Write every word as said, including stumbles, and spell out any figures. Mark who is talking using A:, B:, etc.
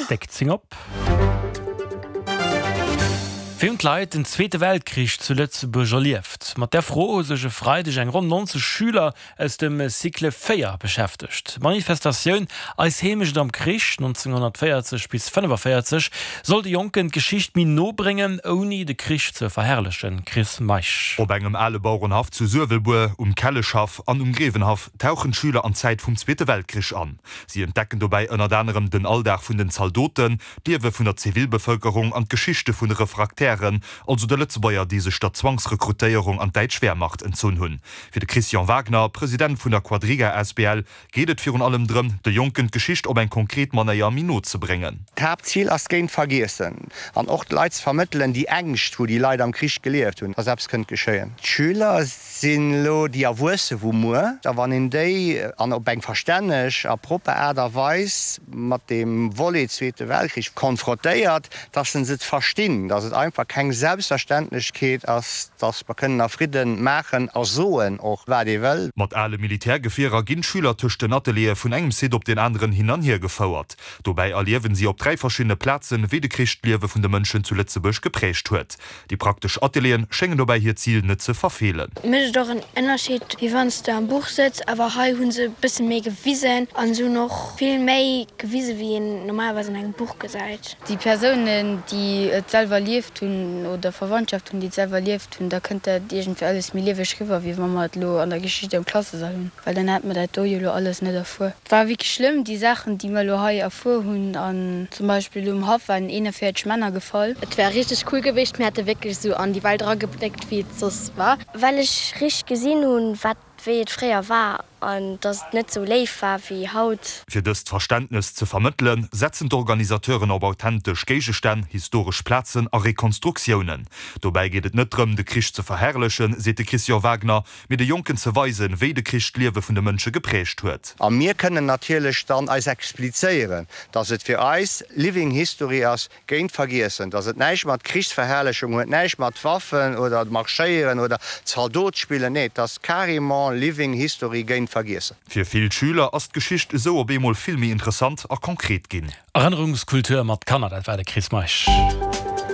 A: Déck zéng op. Wéi hunn d'Leit den Zweete Weltkrich zu Lëtzebuerg erlieft? Mat där Fro hu sech e Freideg eng ronn nonzeg Schüler aus dem Cycle véier beschäftegt. D'Manifestatioun Eis Heemecht am Krich nonzénghonnertvéierzeg bis fënnefavéierzeg soll de Jonken d'Geschicht méi no bréngen, ouni de Krich ze verherrlechen. Chris Meisch.
B: Op engem ale Bauerenhaff zu Suewelbuer, um Kelleschhaff an um Grevenhaff tauchen d'Schüler an d'Zäit vum Zweete Weltkrich an. Si entdecken dobäi ënnert anerem den Alldag vun den Zaldoten, d'Liewe vun der Zivilbevëlkerung an d'Geschichte vun de Refraktären, also de Lëtzebuerger, déi sech der Zwangsrekrutéierung an d'däitsch Wehrmacht entzunn hunn. Fir de Christian Wagner, President vun der Quadriga asbl, geet et virun allem drëm, de Jonken d'Geschicht op eng konkret Manéier méi no ze bréngen.
C: D'Haaptzil ass géint Vergiessen an och de Leit ze vermëttelen, déi Ängscht, wou déi Leit am Krich gelieft hunn, dass eppes kënnt geschéien. D'Schüler sinn elo déi Erwuesse vu muer, a wann een déi an op eng verstänneg a propper Aart a Weis mat deem Volet Zweete Weltkrich konfrotéiert, dass se et verstinn, dass et einfach keng Selbstverständlechkeet ass, dass mer kënnen a Fridden maachen a soen och, wat ee wëll.
B: Mat ale Militärgefierer ginn d'Schüler tëscht den Ateliere vun engem Site op deen aneren hin an hier gefouert. Dobäi erliewen si op dräi verschiddene Plazen, wéi de Krich d'Liewe vun de Mënschen zu Lëtzebuerg geprägt huet. Déi praktesch Atelieren schéngen dobäi hiert Zil net ze verfeelen.
D: Mécht et och en Ënnerscheed, wéi wann s de am Buch sëtz, awer hei hu se e bësse méi gewisen an se hunn och vill méi gewisen, wéi een normalerweis an engem Buch gesäit.
E: Déi Persounen, déi et selwer erlieft hunn oder Verwandschaft hunn, déi et selwer erlieft hunn, da kënnt dat iergendwéi alles méi lieweg riwwer, wéi wa mer et elo an der Geschicht am Klassesall hunn, well dann hätte mer dat do jo elo alles net erfuer. Et war wierklech schlëmm, déi Saachen, déi mer elo hei erfuer hunn. An zum Beispill um Haff waren eenanvéierzeg Männer gefall.
F: Et wär richteg cool gewiescht, mir hätte wierklech esou an déi Welt eragebléckt, wéi et soss war.
D: Well ech richteg gesinn hunn, wat wéi et fréier war an dass et net sou léif war wéi haut.
B: Fir dëst Verständnes ze vermëttelen, setzen d'Organisateuren op authentesch Géigestänn, historesch Plazen a Rekonstruktiounen. Dobäi geet et net drëm, de Krich ze verherrlechen, seet de Christian Wagner, mee de Jonken ze weisen, wéi de Krich d'Liewe vun de Mënsche geprägt huet.
C: A mir kënnen natierlech dann eis explizéieren, dass et fir eis Living History ass, géint Vergiessen, dass et näischt mat Krichsverherrlechung huet, näischt mat Waffen oder Marschéieren oder Zaldot spillen, nee, et ass carrément Living History géint Vergiessen.
B: Fir vill Schüler ass d'Geschicht esou op eemol vill méi interessant a konkret ginn.
A: Erënnerungskultur mat Kanner, dat war de Chris Meisch.